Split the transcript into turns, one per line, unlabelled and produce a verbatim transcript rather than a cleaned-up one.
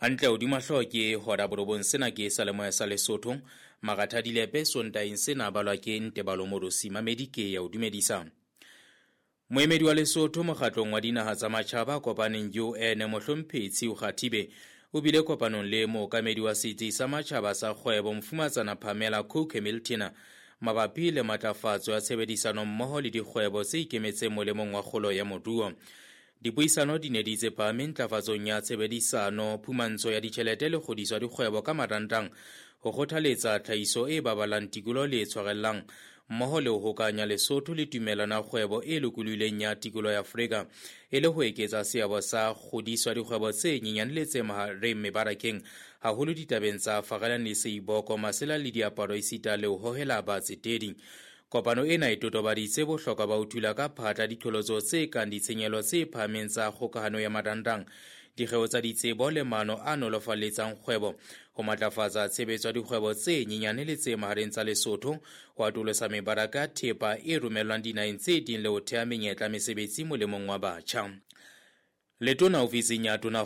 Hantle hodima hlooho ke hora borobong. Sena ke Salemoya sa Lesotho. Maratha Dilepe Sontaeng sena balwa ke Ntebalo Morosi. Mamedi ke ya o dumedisa. Moemedi wa Lesotho mokgatlong wa dinaha tsa matjhaba kopaneng U N Mohlomphehi Tshiu Kgathibe o bile kopanong le mookamedi wa setsi sa matjhaba sa kgwebo Mofumatsana Pamela Cook Hamilton mabapi le matlafatso ya tshebedisano mmoho le dikgwebo tse ikemetseng molemong wa kgolo ya moruo. Dipuisano di ne di tsepame ntlafatsong ya tshebedisano, phumantsho ya ditjhelete le kgodiso ya dikgwebo ka marantang, ho kgothaletsa tlhahiso e baballang tikoloho le e tshwarellang, mmoho le ho hokanya Lesotho le tumellano ya kgwebo e lokolohileng ya tikoloho ya Afrika, e le ho eketsa seabo sa kgodiso ya dikgwebo tse nyenyane le tse mahareng mebarakeng, haholo ditabeng tsa farelang le seiboko, masela le diaparo esita le ho hohela batsetedi. Kopano ena e totobaditse bohlokwa ba ho thula ka phatla diqholotso tse kang ditshenyehelo tse phahameng tsa kgokahano ya marantang, dikgeo tsa ditsebo le maano a nolofalletsang kgwebo, ho matlafatsa tshebetso ya dikgwebo tse nyenyane le tse mahareng tsa Lesotho, ho atolosa mebaraka ya thepa e romellwang dinaheng tse ding le ho theha menyetla mesebetsi molemong wa batjha. Letona ofising ya Tona